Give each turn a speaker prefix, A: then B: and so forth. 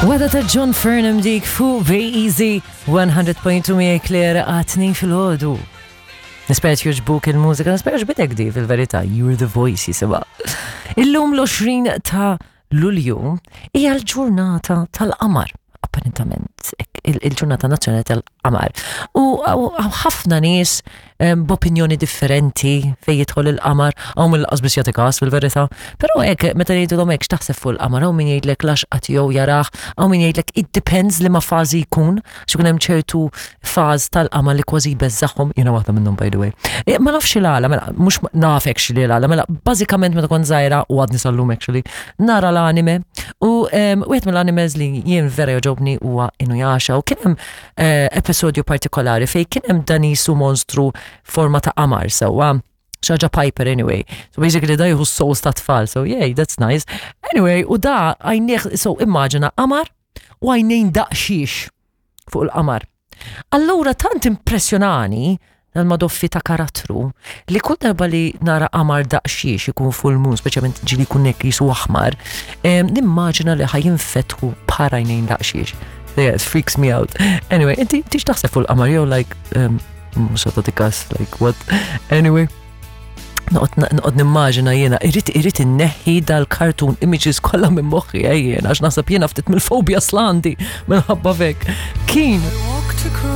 A: Wada ta' John Furnham dik fuq Easy 100.2 miegħi Claire għatni fil-ħodu. Nispera jogħġbuk il-mużika, nispera ġbitek di fil-verità, You're the Voice jisimha. Illum l-20 ta' Lulju hija l-ġurnata tal-qamar, apparentament, il-ġurnata nazzjonali tal-qamar. U ħafna nies b'opinjoni differenti fejn jidħol il-qamar, hawn min lanqas biss jagħti każ fil-verità. Però hekk meta jgħidulhom hekk x'taħseb fuq il-qamar, hawn min jgħidlek l-għaxqa tiegħu jarah, hawn min jgħidlek it depends liema fażi jkun, għax ikun hemm ċertu faż tal-qamar li kważi jbeżżagħhom, jiena waħda minnhom by the way. Eh, ma nafx il-għala, mela, mhux naf actually l-għala, mela bażikament meta kont żgħira u għadni sal-lum actually, nara l-anime u wieħed mill-animes li jien vera jogħġobni huwa Inuyasha u kien hemm eh, episodju partikolari fejn kien hemm dan jisu monstru forma ta' qamar sewwa xaġa Piper anyway. So basically da jieħu souls ta' tfal, so yay, that's nice. Anyway, u da għajnieħ, so immaġina qamar u għajnejn daqxiex fuq il-qamar. Allura tant impressjonani dal-madoffi ta' karattru li kull darba li nara qamar daqxiex ikun full moon, speċjalment ġili jkun hekk jisu aħmar, nimmaġina li ħajinfetħu bħal għajnejn daqxiex. Yeah, it freaks me out. Anyway, inti tix taħseb fuq il-qamar jew like mhux tagħti kas, like what? Anyway, noqgħod nimmaġina jiena irrid irrid inneħħi dal-cartoon images kollha minn moħħi eh, jiena għax naħseb jiena ftit mill-fobia slandi minħabba fek. Kien.